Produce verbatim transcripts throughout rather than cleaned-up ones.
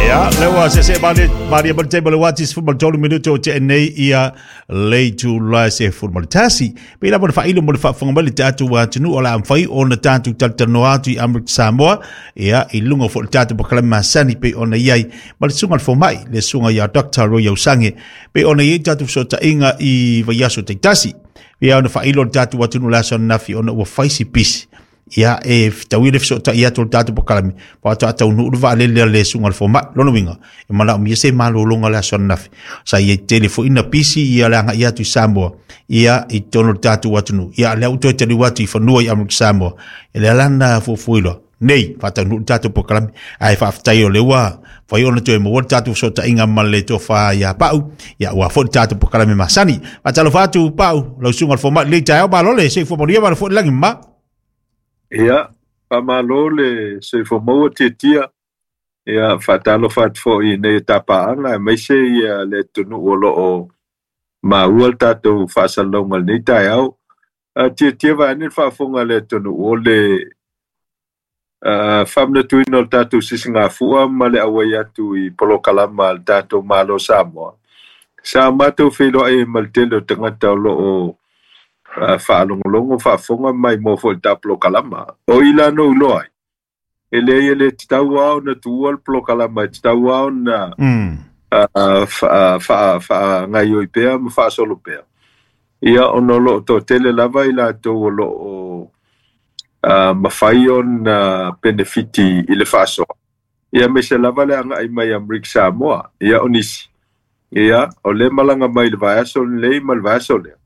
Ia, lewa se se mali mali ma te mali wati fu mal tolu minuto o te nei ia le tu la se fu mal tasi. Pe la mo fa ilo mo fa fonga mali tatu wa tunu o la amfai o na tatu taltano atu i Amerika Samoa. Ia, i lunga fo tatu po kalama masani pe ona iai. Ma le sunga fo mai, le sunga ia Doctor Roy Usange. Pe ona iai tatu so ta inga i vaiaso te tasi. Ia ona fa ilo tatu wa tunu la son nafi ona ua faisi pisi. Ia e tauile so ta ia tol tatu pokalami pa ta ta nu va le le le sunga fo ma lono winga e mana mi se malo longa la son nafi sa ia telefo ina pisi ia la ia tu Samoa ia i tono tatu watunu ia le auto te watu i fanua i Amerika Samoa e le lana fo fuilo nei fa ta nu tatu pokalami ai fa ftai o le wa fa yo to mo tatu so ta inga male to fa ia pau ia wa fo tatu pokalami masani fa talo fa tu pau lo sunga fo ma le ta ba lo le se fo mo ia ba fo langi ma. Ia, whamalo le soifo maua tia. Ia, whatalo whatfo i nei tapaanga, e meise ia le tunu o loo maua le tātou whaasalonga le nei tai au. Tia tia vaane le whaafonga le tunu o le whamnatuina o le tātou sisingafua ma le awai atu i polokalama le tātou malo Samoa. Sa mātou whiloa e ma le tele o tangata o loo whaalongolongo, whaafonga mai mō fo i tā polokalama. O ila no uloai. E le ia le tau ao na tuua le polokalama, e tau ao na whaangaioi pea ma whaasolo pea. Ia ono loo tō tele lava i lātou o loo mawhai o na benefiti i le whaasoa. Ia me se lava le anga i mai Amerika Samoa. Ia o nisi. Ia o le malanga mai le vaiaso lei ma le vaiaso lea.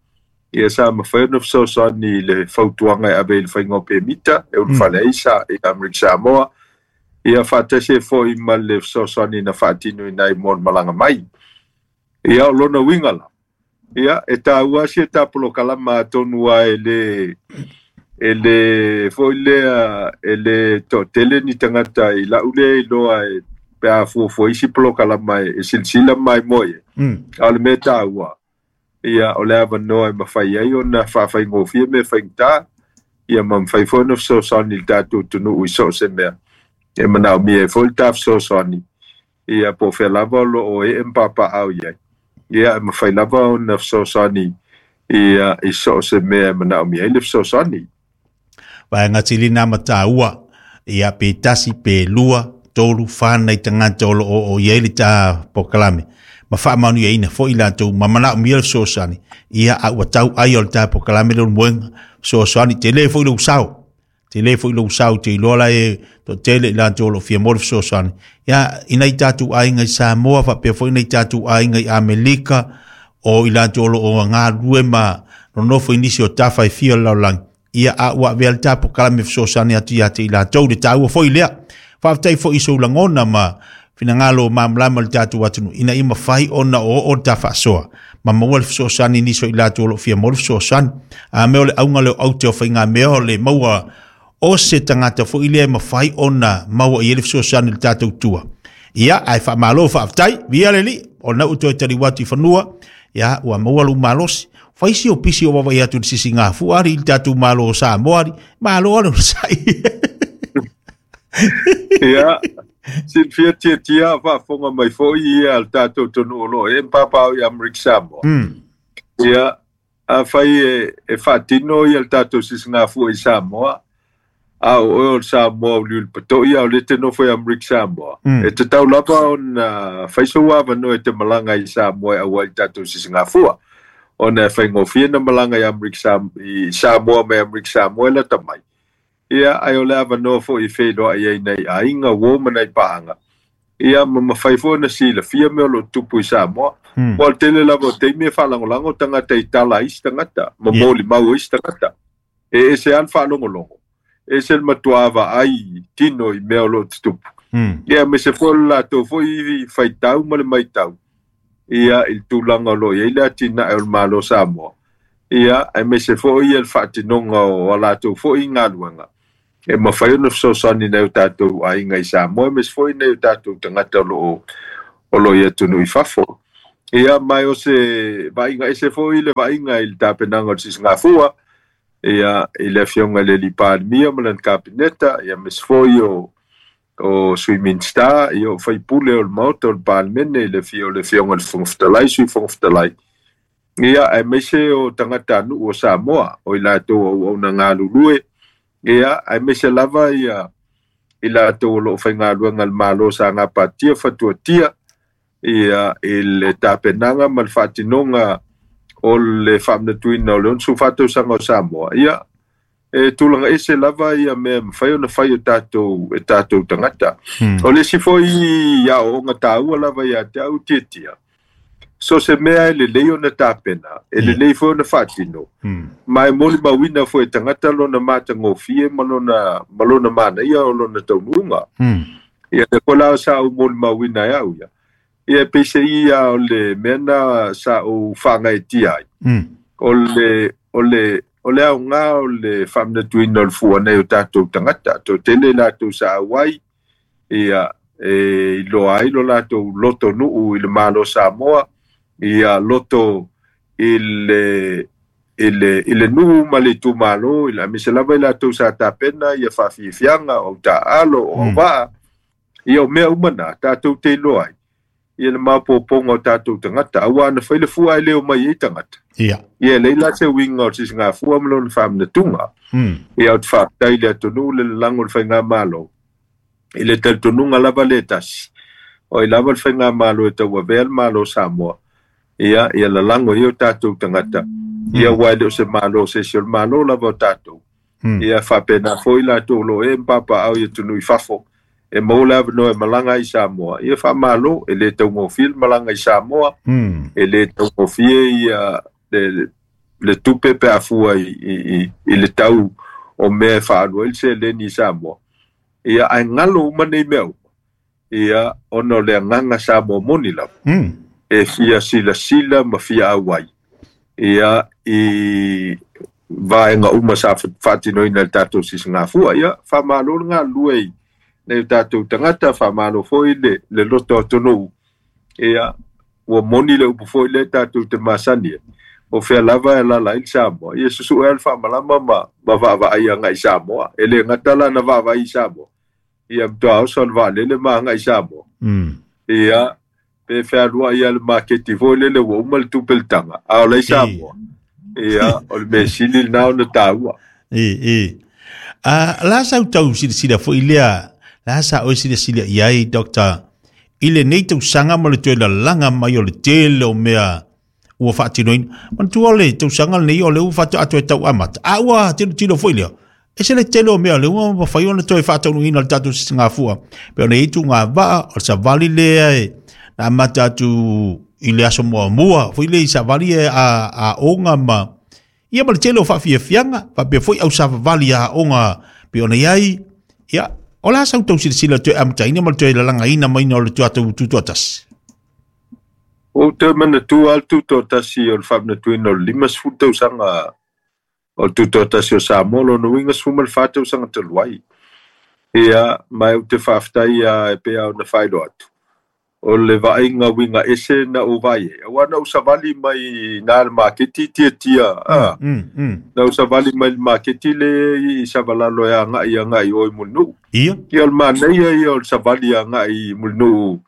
Ia sa mawhai ona fesoasoani le fautuanga e ave i le whainga o pemita, e ulu whale aisa i Amerika Samoa. Ia whaatese fo i ma le fesoasoani na whaatino i nai mon malanga mai. Ia o lona wingala. Ia e tā uasi e tā polokalama tonua e le e le fo i lea e le to tele ni tangata i la ule i loa e pea fuafua isi polokalama e silsila mai moe. A le me tā ua. Ia o le avanoa e mawhai ai o na whawhaingofia me whaingta ia ma mwhai fo na fesoasoani le tātou tunu ui so se mea e manao mia e fo le tā fesoasoani ia po whea lava o lo o e mpapa au iai ia e mawhai lava o na fesoasoani ia i so se mea e manao mia i le fesoasoani. Vaenga tilina mataua ia pe tasi pe lua tolu whānai tangata o lo o o ia le tā pokalame. Ma whaamanu ia ina fo i lātou, ma manao mia le fesoasoani. Ia a ua tau ai o le tā pokalame le muenga fesoasoani, te le fo i le usau. Te le fo i le usau, te iloa la e to tele i lātou o lo fia mo le fesoasoani. Ia ina i tātou ainga i Samoa, whapea fo ina i tātou ainga i Amelika, o i lātou o lo o ngā rue ma nonofo i nisi o tawha i fia laulangi. Ia a ua vea le tā pokalame fesoasoani atu ia te i lātou, le tāua fo i lea. Whaaftai fo i soulangona ma finangalo mamlama le tātou atunu ina i mawhai ona o o ta whaasoa. Ma maua le fesoasoani niso i lātou o lo fia mo le fesoasoani. A meo le aunga leo au te o whainga meo le maua o se tangata fo i lea mawhai ona maua i ele fesoasoani le tātou tua. Ia, ai whaamalo whaaftai, via leli, o na uto e tari watu i whanua, ia, ua maua lu malosi. Whaisi o pisi o wawai atu sisi ngā fuari, i tātou malo o Samoari, malo anu sai. Ia, silfia tia tia whaafonga mai fo i ia al tātou tonu o lo e mpapa au i Amerika Samoa. Ia, a whai e, e whaatino i al tātou sisi ngā fua i Samoa, a o o Samoa o liul pato ia o le te nofo i Amerika Samoa. E te tau lapa o na whaiso wava no e te malanga i Samoa e aua i tātou sisi ngā fua. O na whaingofia na malanga i Amerika Samoa, i Samoa me Amerika Samoa e la tamai. Ia, ai o le avanoa fo i whenua i ai nei a inga wōma nei pāanga. Ia, ma mawhai fo na sila fia mea lo tupu i Samoa. Mm. Wa tele lava o teimi e whalangolango tangata i tala isi tangata, ma yeah. Moli mau isi tangata. E ese an whalongolongo. E se matuava ai tino i mea o lo tupu. Mm. Ia, me se fo la tō fo i whaitau ma le maitau. Ia, il tūlanga lo ia ila tina e o le malo Samoa. Ia, e me se fo i el whaatinonga o a lātou fo i ngāluanga. E mawhai ona fesoasoani nei o tātou ainga i Samoa, me se foi nei o tātou tangata o lo o lo ia tunu i fafo. Ia mai o se vainga e se foi le vainga i le tāpenanga o le sisingafua, ia i le afioga le li Palemia ma lana kapineta, ia me se foi o o Sui Minista, ia o faipule o le Maota o le Palemene, le fia o le Afioga i le Fofoga Fetalai, Sui Fofoga Fetalai. Ia aemaise o tagatanuu o Samoa, o i latou o auauna galulue, ia aemaise lava ia i latou o loo faigaluega le Malo sa gapatia fatuatia ia i le tapenaga ma le faatinoga o le faamanatuina o le onosefulu fa tausaga o Samoa. Ia e tulaga ese lava ia mea mafai ona fai o tatou e tatou tagata. Hmm. O le isi foi aoaoga taua lava ia te au tiatia, so se mea e lelei ona tapena, e lelei foi ona faatino, Hmm. ma e molimauina foi e tagata lona matagofie ma lona, ma lona manaia o lona taunuuga. Hmm. Ia le foi la sa ou molimauina e au ia. Ia peiseai ia o le mea na sa ou faagaetia ai. Hmm. O le, o le, o le aoga o le faamanatuina o le fua nei o tatou tagata. Toatele latou sa auai, ia, e iloa ai lo latou loto nuu i le Malo Samoa, ia loto i le, i le, i le nuu ma le itumalo, i le aemaise lava i latou sa tapena ia faafiafiaga o taalo o Mm. auvaa. Ia o mea uma na tatou te iloa ai ia le maopoopoga o tatou tagata, auā na fai le fua e le o mai ai tagata. Ia. Ia e leai la se uiga o le sisigafua ma lona faamanatuga. Hmm. Ia ou te faafetai i le atunuu le lalago o le faigamalo i le talitonuga lava le tasi, o ai lava le faigamalo e tauavea le Malo o Samoa. Ia, ia lalago ai o tatou tagata. Ia ua e le o se malo se isi o le Malo lava o tatou. Hmm. Ia faapena foi latou o loo e mapapaau i atunuu i fafo, e maua le avanoa e malaga ai i Samoa. Ia faamalo, e le taugofie le malaga i Samoa, Hmm. e le taugofie ia le, le tupe pe afua i, i, i, i le tau o mea e faalua ai le seleni i Samoa. Ia ae galo uma nei mea uma, ia ona o le agaga Samoa moni lava. Hmm. E fia silasila ma fia auai ia i vaega uma sa faatinoina i le tatou sisigafua. Ia faamalo le galulue i nei o tatou tagata, faamalo foi le, le loto atunuu. Ia ua moni le upu foi lea tatou te masani ai, o fea lava e alaala ai le Samoa. Ia susue lava le faamalama ma, ma vaavaai agai i Samoa. E le gata la na vaavaai i Samoa, ia matoa oso le vaalele ma agai i Samoa. Hmm. Ia pe fealuai ia le maketi foi lele ua uma le tupe le taga, a o lai Samoa. Ia o le mea sili lena ona taua. E, e. A, la sa tau silasila foi lea, la sa oe silasila i ai, Doctor, i lenei tausaga ma le toe lalaga mai o le tele o mea ua faatinoina. Manatua o le tausaga lenei o le ua faatoa toe tau amata. A ua tilotilo foi lea, e se le tele o mea le ua mafai ona toe faataunuuina le tatou sisigafua. Pe ona i tugavaa, o le savali lea e na amata atu i le aso muamua, foi le i savali e a, a onga ma ia ma le tele o faafiafiaga, faapea foi au savavali a aoga pe ona i ai. Ia, o la sau tau silasila toe amataina ma le toe lalagaina maina o le tatou tutoatasi. Ou te manatua le tutoatasi o le faamanatuina o le limasefulu tausaga o le tutoatasi o Samoa, lona uiga sefulu ma le fa tausaga talu ai. Ia, ma ou te faafetai ia e pei ona faailoa atu, o le vaaiga uiga ese na ou vaai ai. Auā na ou savali mai na le maketi tiatia, a, Mm, mm. na ou savali mai le maketi le i Savalalo e agai agai o i Mulinuu. Ia. Ia o le manaia ia o le savali agai i Mulinuu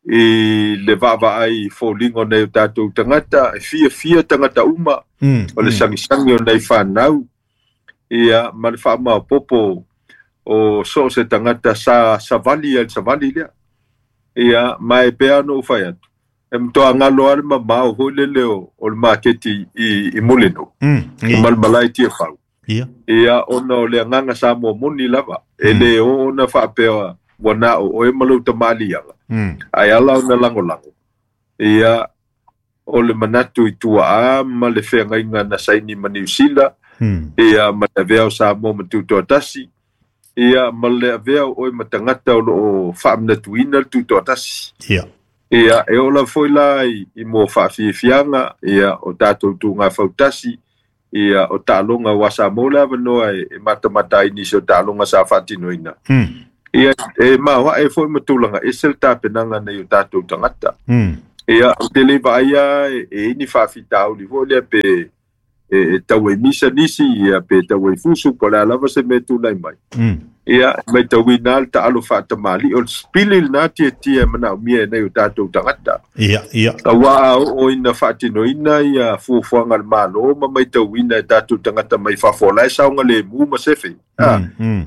i le vaavaai i foliga o nai o tatou tagata, e fiafia tagata uma, Mm, o le mm. sagisagi o nai fanau, ia ma le faamaopopo o so o se tagata sa savali ai le savali lea. Ia, ma e pea ona ou fai atu, e matoa galo lava le mamao foi lele o, o le maketi i, i Mulinuu, Mm, i Malemalae i Tiafau. Ia. Ia, ona o le agaga Samoa moni lava, e Mm. le o ona faapea ua na o oe ma lou tamaaliaga, Mm. ae ala ona lagolago. Ia, o le manatu i tuaa ma le feagaiga na saini ma Niu Sila, Mm. ia ma le avea o Samoa ma tutoatasi, ia ma le avea o oe ma tagata o loo faamanatuina le tutoatasi. Ia. Ia, e oo lava foi la i, i mo faafiafiaga, ia o tatou tugafautasi, ia o taaloga ua Samoa le avanoa e, e matamata ai nisi o taaloga sa faatinoina. Mm. Ia, e maoae foi ma tulaga ese le tapenaga nei o tatou tagata. Mm. Ia, ou te le vaaia e, e i ni faafitauli foi lea pe e, e tau e misa nisi, ia pe tau e fusu, po o le a lava se mea tulai mai. Mm. Ia matauina le taalo faatamali'i o le sipili lenā tiatia e manaomia e nei o tatou tagata. Ia ia Auā oo ina faatinoina ia fuafuaga a le Mālō ma matauina e tatou tagata mai fafo o la e saogalēmū ma sefe. A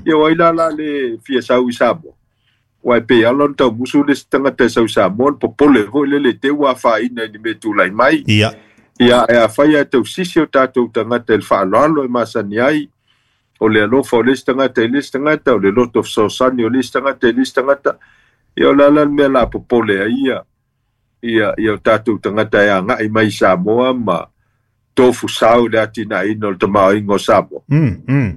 ia o ai la la le fia sau i Samoa. Uae pei ala ona taumusu le isi tagata e sau i Samoa le popole foi lele te ua afaina i ni mea tulai mai. Ia Ia e afai ae tausisi o tatou tagata i le faaaloalo e masani ai o le alofa o le isi tagata i le isi tagata, o le loto fesoasoani o le isi tagata i le isi tagata, ia o le ala le mea la popole ai ia ia ia o tatou tagata e agai mai i Samoa ma tofusau i le atinaeina o le tamaoaiga o Samoa. Mm, mm.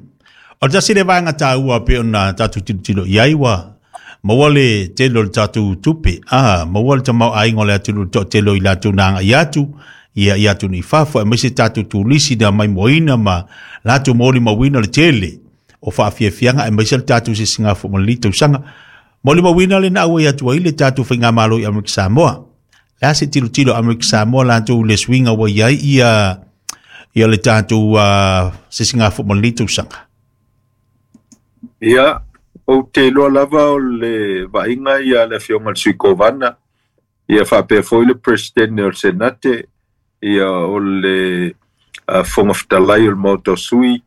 O le tasi le vaega taua pei ona tatou tilotilo i ai ua maua le tele o le tatou tupe, a maua le tamaoaiga o le atunuu i le toatele o i latou na agai atu ia i atunuu i fafo, aemaise tatou turisi na maimoaina ma latou molimauina le tele o faafiafiaga, aemaise le tatou sisigafua ma lenei tausaga. Molimauina le na auai atu ai le tatou faigamalo i Amerika Samoa. Le a se tilotilo Amerika Samoa latou i le suiga ua i ai ia ia le tatou uh, sisigafua ma lenei tausaga? Ia, ou te iloa lava o le vaaiga ia a le afioga i le Sui Kovana, ia faapea foi le Peresetene o le Senate, ia o le uh, Fofoga Fetalai o le Maota o Sui,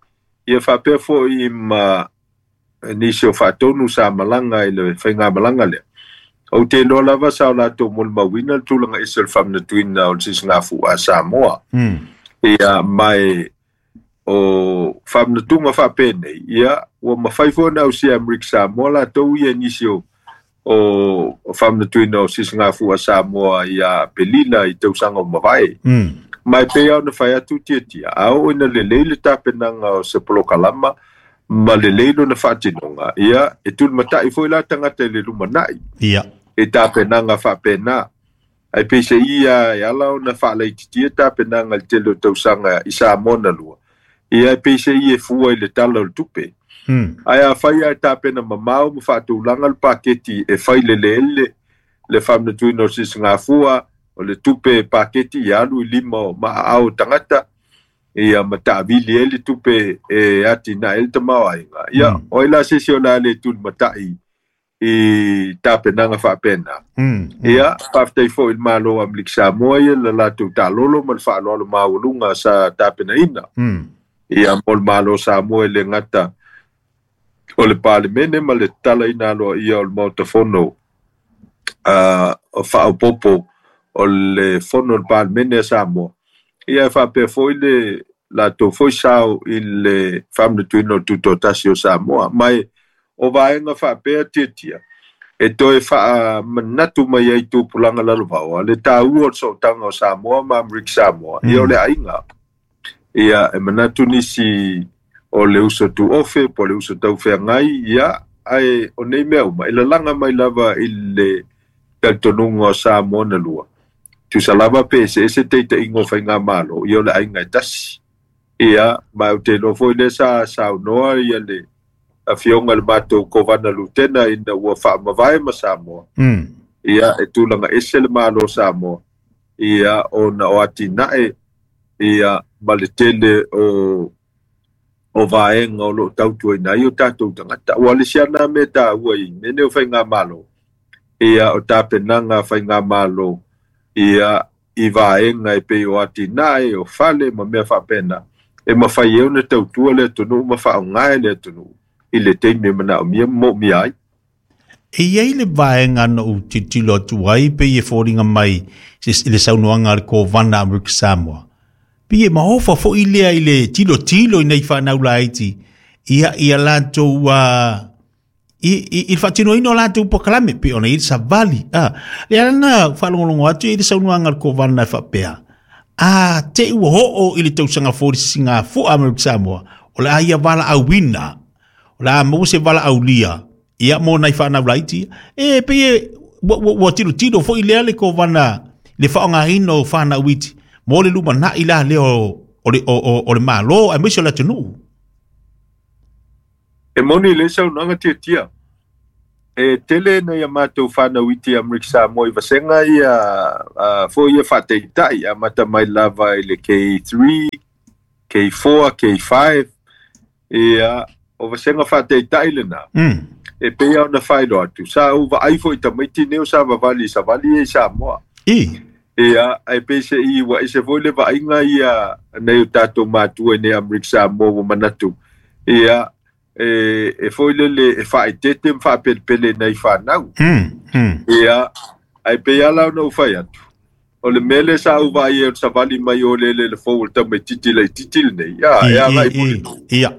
ia faapea foi ma nisi o faatonu sa malaga i le faigamalaga lea. Ou te iloa lava sa o latou molimauina le tulaga ese o le faamanatuina o le sisigafua a Samoa. Mm. Ia mae o faamanatuga faapenei, ia ua mafai foi ona ausia e Amerika Samoa latou ia nisi o o faamanatuina o sisigafua a Samoa ia Aperila i tausaga o mavae. Mm. Ma e pei lava ona fai atu tiatia, a oo ina lelei le tapenaga o se polokalama ma lelei lona faatinoga, ia e tulimata'i foi la tagata i le lumana'i Ia i tapenaga faapena. Ae peiseai ia e ala ona faalaititia tapenaga i le tele o tausaga i Samoa na lua, ia e peiseai e fua i le tala o le tupe. Mm. Ae afai ae tapena mamao ma faatulaga le paketi e fai leleele le faamanatuina o le sisigafua, o le tupe paketi ia alu i lima o maaao o tagata, ia ma taavili ai le tupe e atinae ai le tamaoaiga. Ia, Mm. o ai la se isi o le a le tulimata'i i tapenaga faapena. Mm. Mm. Ia, faafetai foi i le Malo o Amerika Samoa ia le latou taalolo ma le faaaloalo maualuga sa tapenaina. Mm. Ia mo le Malo o Samoa e le gata o le Palemene ma le tatalaina aloaia o le Maota Fono uh, o faaopoopo o le Fono o le Palemene a Samoa. Ia e faapea foi le latou foi sao i le faamanatuina o le tutoatasi o Samoa. Mai o vaega faapea tiatia e toe faamanatu mai ai tupulaga lalovaoa le taua o le sootaga o Samoa ma Amerika Samoa. Ia o le aiga. Ia e manatu nisi o le uso tuofe po o le uso taufeagai, ia ae o nei mea uma e lalaga mai lava i le talitonuga o Samoa na lua. Tusa lava pe eseese taitaiga o faigamalo, ia o le aiga e tasi. Ia ma ou te iloa foi lea sa saunoa ia le afioga i le matou Kovana Lutena ina ua faamavae ma Samoa. Mm. Ia e tulaga ese le Malo o Samoa, ia ona o atinae ia ma le tele o o vaega o loo tautuaina ai o tatou tagata. Ua le isi ana mea taua i mea nei o faigamalo, ia o tapenaga a faigamalo ia i vaega e pei o atinae o fale ma mea faapena, e mafai ai ona tautua le atunuu ma faaaoga e le atunuu i le taimi e manaomia ma moomia ai. E i ai le vaega na ou tilotilo atu ai pei e foliga mai i le saunoaga a le Kovana Amerika Samoa. Pei e maofa foi lea i le tilotilo i nei fanau laiti ia ia latou uh, i, i, i le faatinoina o latou polokalame pei ona i le savali. Ah, le ala na faalogologo atu i le saunoaga a le Kovana e faapea, a te ua oo i le tausaga fou i le sisigafua Amerika Samoa, o le a ia valaauina, o le a maua se valaaulia ia mo nai fanau laiti. E pei e ua, ua, ua tilotilo foi lea le Kovana le faaaogaina o fanau iti mo le lumanai la lea o, o, le, o, o, o le Malo aemaise o le atunuu. E moni le saunoaga tiatia. E tele nai a matou fanau iti i Amerika Samoa i vasega ia uh, foi ia faataitai amata mai lava i le K three, K four, K five, ia o vasenga faataitai lenā Mm. e pei ona faailoa atu sa ou vaai foʻi tamaiti nei o sa vavali i savali e i Samoa. I. Ia, ae pei seʻi ua ese foi le vaaiga ia nai o tatou matua i nei Amerika Samoa ua manatu. Ia, e, e foi lele e faaetete ma faapelepele nai fanau. Mm. Mm. Ia, ae pei ala ona ou fai atu. O le mea lea sa ou vaai ai o le savali mai o le le le fou o le tamaititi laititi lenei. Ia, I e agai i mo le i. nuu. Ia.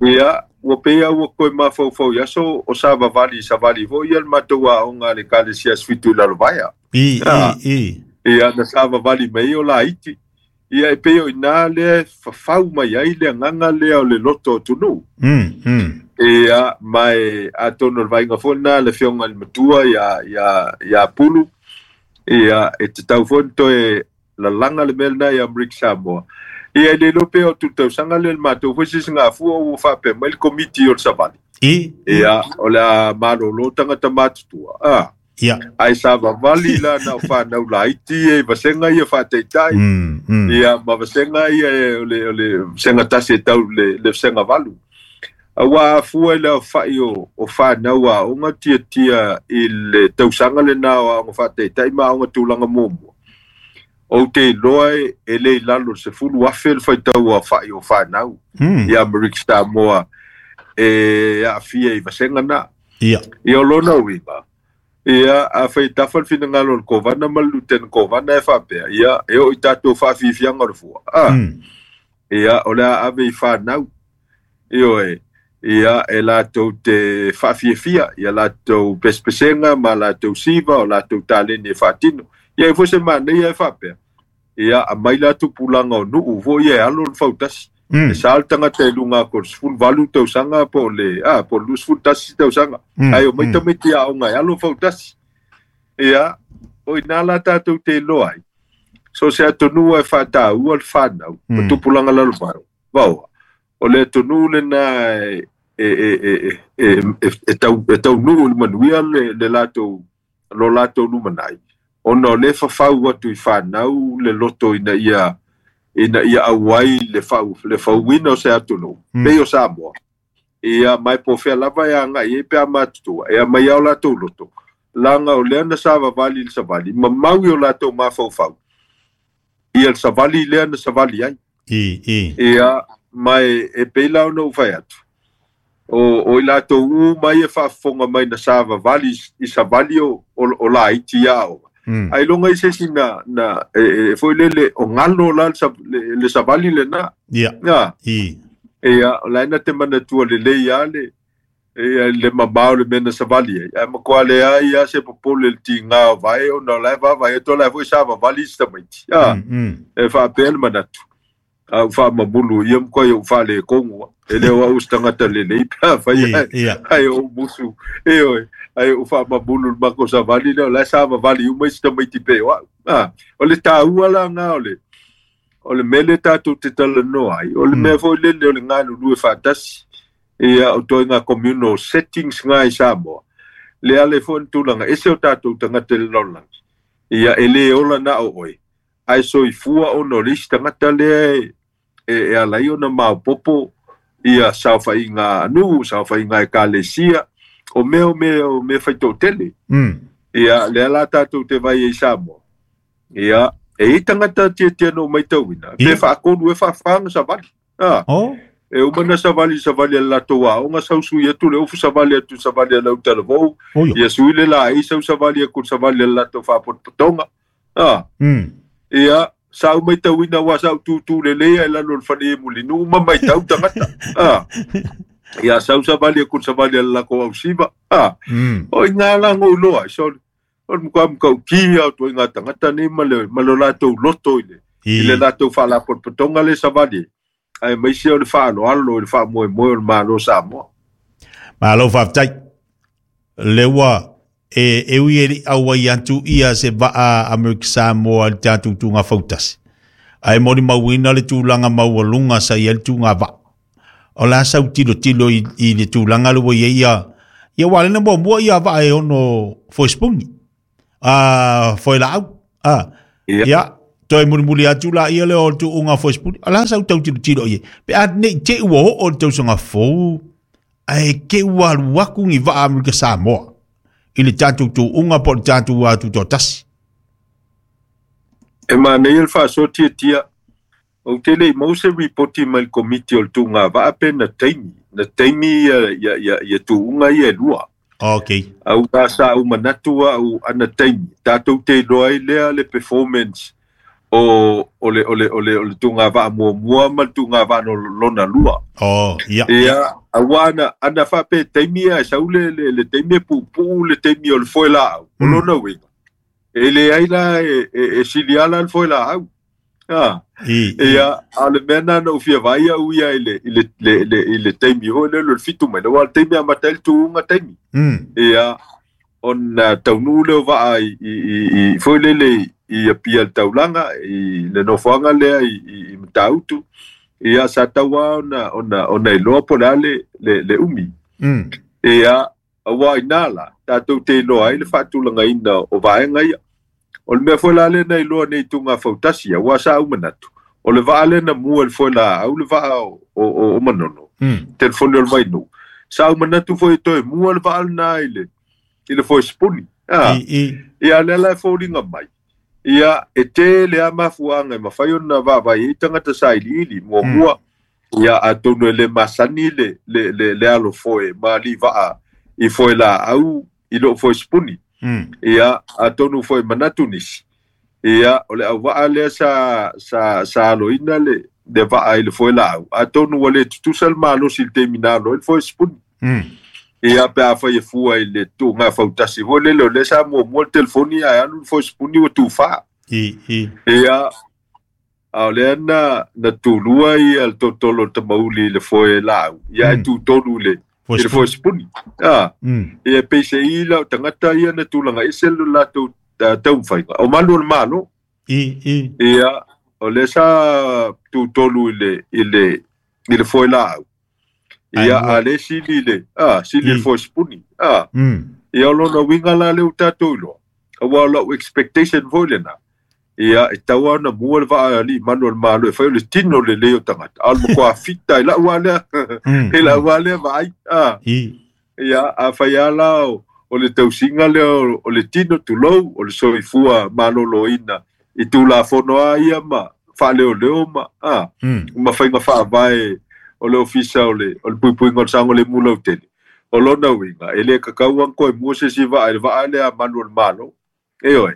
Ia, ua pei a ua koe mafaufau i aso o sa vavali i savali foi ia le matou aoga a le Ekalesia Asofitu i Lalovaea. I Ia, i i. ia na sa vavali mai o laiti. Ia e pei o inā lea e fafau mai ai le agaga lea o le loto o atunuu. Mm. Mm. Ia, ma e atonu o le vaaiga foi lenā le afioga i le matua ia, ia, ia Pulu. Ia, e tatau foi ona toe lalaga le mea lenā i Amerika Samoa. Ia, e le iloa pea o tutausaga lea le matou foi sisigafua ua faapea mai le komiti o le savali. I i. Ia, o le a malōlō tagata matutua. Ah, Ia. ae sa vavali la na o whanau laiti e vasenga ia faataitai. Mm. Mm. Ia, ma vasenga ia e o le, o le vasenga tasi e tau le, le vasenga valu. Aua afua i le aofaʻi o, o whanau aoga tiatia i le tausaga lenā o aoga faataitai ma aoga tulaga muamua. Ou te iloa e, e le i lalo o le sefulu afe le faitau o aofaʻi o whanau Mm. i Amerika Samoa e aafia i vasenga na. Ia. Ia o lona uiga. Ia, a fai tafa le finagalo o le kovana ma le lutena kovana e faapea. Ia, e oo i tatou faafiafiaga o le fua. Ah, Mm. ia, o le a ave i whanau. Ioe, ia, e latou te faafiafia, ia latou pesepesega ma latou siva, o latou taleni e faatino. Ia, e foi se manaia e faapea. Ia, aumai la tupulaga o nuu foi ia e alo le fautasi. E Mm. sa le tagata i luga atu o le sefuluvalu tausaga po o le, ah, po o le luasefulutasi tausaga. Mm. Ae omai Mm. tamaiti aoga e alo fautasi. Ia, o inā la tatou te iloa ai. So se atunuu e faataua le whanau, ma Mm. tupulaga lalovaoa. Vaoa. O le atunuu lenā e, e, e, e, e, e, e, tau, e taunuu i le manuia le, le latou, lo latou lumanai. Ona o le fafau atu i whanau le loto ina ia, ina ia auai le fau, le fauina o se atunuu. Mm. Pei o Samoa. Ia mai po fea lava e agai e pe a matutua. E mai au latou loto. Laga o lea na savavali i le savali. Ma mau i o latou mafaufau. Ia le savali lea na savali ai. I i. Ia, mai e pei la ona ou fai atu. O, o i latou u mai e faafofoga mai na savavali i savali o, o, o laiti aoga. Mm. Ai longa i se isi na, na e, e foi lele o galo la le, sa- le, le savali lenā. Ia. Ia, I. ia, o la e na te manatua lelei lava le, ia, le mamao le mea na savali ai. Ae matua leai lava se popole i le tigā o vae ona o la e vaavaai atu o la e foi savavali isi tamaiti. Ia, Mm. Mm. e faapea le manatu. A ou faamamulu ia makuai ou faaletonu e le o au se tagata lelei pe afai I ae ia. ae ou musu. E oe, ae ou faamamulu i le matou savali lea o la e savavali uma isi tamaiti pei o au. Ah, o le taua lagā o le o le mea lea tatou te talanoa ai. O le Mm. mea foi lele o le galulue faatasi. Ia o toaiga communal settings ngā i Samoa. Le ale foi na tulaga ese o tatou tagata i le lalolagi. Ia e lē ola na o oe. Ae soifua ona o le isi tagata lea e, e, e ala ai ona maopopo ia saofaiga nuu, saofaiga ekalesia, o mea o mea o mea faitoatele. Mm. Ia, lea la tatou te vai ai i Samoa. Ia, e i tagata tiatia na ou maitauina. Pe Ia. faatolu e faafā ona savali. Ah, Oh. e uma na savali savali a le latou aoga sau sui atu le ofu savali atu savali a le autalavou. Oh ia. Ia sui le laei sau savali aku le savali a le latou faapotopotoga. Ah, Mm. ia, sa ou maitauina ua sa ou tutū lelei ae lalo o le fale e mulinuu ma maitau tagata. Ah, ia sau savali aku le savali a le lakou ausiva. Ah, Mm. o i ngā la ngou loa, so, o le mukua mukauki au toi ngā tangata nei ma le, ma le latou loto i le, i le I. latou faalapotopotoga le savali. Ae maise o le faaaloalo i le faamoemoe o le Malo o Samoa. Malo faafetai. Le ua e e ui e liʻi auai atu ia se vaa Amerika Samoa i le tatou tuga fautasi. Ae molimauina le tulaga maualuga sa i ai le tuga vaa. O la sau tilotilo i, i le tulaga le ua i ai ia ia ua lena muamua ia vaa e ono foesipuni. A foelaau. A Ia, ia toe mulimuli atu la ia le o le tuuga foesipuni. O la sau tau tilotilo i ai. Pe a nei te ua oo le tausaga fou Ae ke ua alu aku ni vaa Amerika Samoa i le tatou tuuga po o le tatou tutoatasi. E manaia le faasoa tiatia. Ou te le i maua se ripoti mai le komiti o le tuuga vaa pe na taimi. Na taimi ia, ia, ia, ia tuuga ia e lua. Okay. Au ta sa u manatu au ana taimi. Tatou te iloa ai lea le performance o, o le, o le, o le, o le tuuga vaa muamua ma le tuuga vaa no lona lua. Oh, ia. Ia, aua ana, ana faape taimi ia e sau le, le, le taimi e puupuu le taimi o le foe laau. O Mm. lona uiga. E leai la e, e, e sili ala le foe laau. Ah. I, i. Ia, a o le mea na na ou fia vaai au ia i le, i le, le, le, i le taimi foi lea o le fitu mai. Aua o le taimi e amata ai le tuuga taimi. Mm. Ia, ona taunuu lea o vaa i, i, i, i foi lele i Apia le taulaga, i le nofoaga lea i, i, i Matautu. Ia, sa tau lava ona, ona, ona iloa po o le a le, le, le umi. Mm. Ia, aua i nā la, tatou te iloa ai le faatulagaina o vaega ia. O le mea foi la lea na iloa nei tuuga fautasi, aua sa ou manatu. O le vaa lea na mua i le foe laau, le vaa o, o, o, o Manono, Mm. telefoni o le Vainuu. Sa ou manatu foi e toe mua le vaa lena i le, i le foe sipuni. Ah, I, i. ia lea la e foliga mai. Ia, e tele a mafuaaga e mafai ona vaavaai ai tagata sailiili muamua. Ia, atonu e le masani le, le, le, le alo foe ma alii vaa i foe laau i loo foe sipuni. Mm. Ia, atonu foi manatu nisi. Ia, o le auvaa lea sa, sa, sa aloina le, le vaa i le foe laau. Atonu ua le tutusa le malosi i le taimi na alo ai le foe sipuni. Mm. Ia, pe afai e fua i le tuuga fautasi foi lele o lea sa muamua le telefoni ae alu le foe sipuni ua tufā. I, i. Ia, a o lea na, na tulua ia le totolo o le tamauli i le foe laau. Ia, e Mm. tutolu i le, Foe i le sipuni. foe sipuni. Ah, Mm. ia peise'i lau tagata ia na tulaga ese le latou uh, taumafaiga. O malu o le Malo. I, i. Ia, o lea sa tutolu i le, i le, i le foe laau. Ai Ia, mua. a le sili i le, ah, sili i le I. foe sipuni. Ah, Mm. ia o lona uiga la lea ua tatou iloa. Aua o lau expectation foi lena. Ia, e tau lava ona mua le vaa alii manu o le Malo e fai o le tino lelei o tagata. A o le matua fita i lau lava lea, Mm. i lau lava lea vaai. Ah, I. ia, afai lava la o, o le tausiga lea o, o le tino tulou, o le soifua maloloina i tulafono a ia ma faaleoleo ma, ah, Mm. ma faiga faavae o le ofisa o le, o le puipuiga o le saogalemu lautele. O lona uiga, e le kakau aga koe mua se isi vaa i le vaa lea a malu o le Malo. E oe.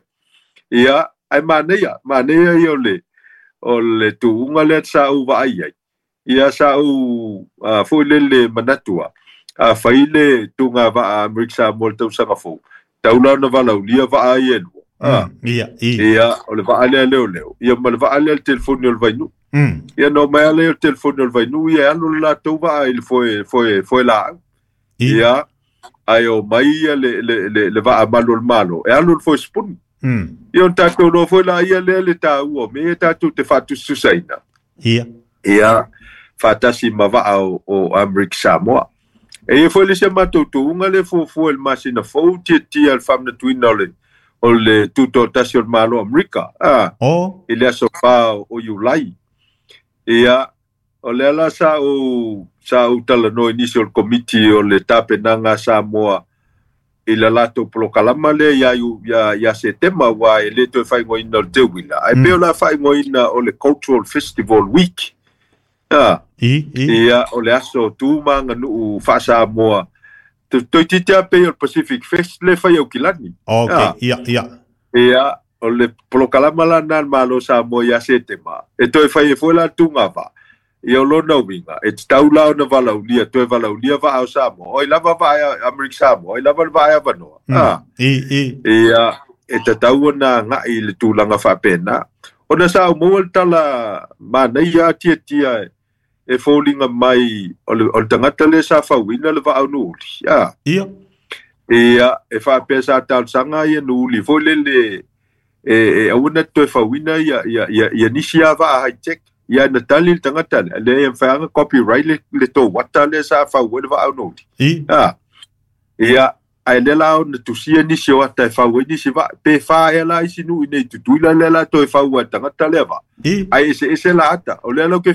Ia, ae manaia, manaia ia o le, o le tuuga lea sa ou vaai ai. Ia sa ou uh, foi lele manatua. Afai le tuuga vaa Amerika Samoa i le tausaga fou. Tau la ona valaulia vaa ia e lua. Ah, Mm. Ia, i. ia, o le vaa lea leoleo. Ia ma le vaa lea le telefoni o le Vainuu. Mm. Ia no mai ala ia o le telefoni o le Vainuu, ia e alu le latou vaa i le foe, foe, foe laau. I. Ia, ae o mai ia le, le, le, le vaa malu o le Malo. E alu le foe sipuni. Mm. Ia o tatou loa foi la ia lea le tāua o mea ia tatou te faatusatusaina. Ia. Ia, faatasi ma vaa o, o Amerika Samoa. E ia foi le isi a matou tuuga le fuafua i le masina fou tiatia le faamanatuina o le, o le tutoatasi o le Malo Amerika. Ah, Oh. i le aso fā o Iulai. Ia, o lea la sa ou, sa ou talanoa i nisi o le komiti o le tapenaga a Samoa i le latou polokalama lea ia, iu- ia, ia Setema ua e le toe faaigoaina o le Teuila. Ae Mm. pei o le a faaigoaina o le Cultural Festival Week. Ah, I, i. ia, o le aso tu ma aganuu faa-Samoa. Toeitiiti lava pei o le Pacific Fest le fai Aukilani. Okay. Ah. Ia, ia. Ia, o le polokalama la na le Malo Samoa ia Setema. E toe fai e foi la tuuga vaa. Ia o lona uiga, e tatau la ona valaulia, toe valaulia vaa o Samoa. Oi lava vaa e Amerika Samoa, oi lava le vaa e avanoa. Mm. Ah, I, i. ia, e tatau ona agai i le tulaga faapena. Ona sa ou maua le tala manaia atiatia e, e foliga mai o le, o le tagata lea sa fauina le vaa o Nuuli. Ah, Ia. ia, e faapea sa talosaga ia Nuuli foi lele e, e aua na toe fauina ia, ia, ia, ia nisi lava vaa high tech. Ia na tali le tagata lea, lea e mafai ona copyright le, le tou ata lea sa fau ai le vaa o Nuuli. I. Ah, ia, ae lea la ona tusia nisi o ata e fau ai nisi vaa. Pe fā ea la isi nuu i nei Tutuila lea la toe fau ai le tagata lea vaa. I. Ae eseese la ata. O lea lau ke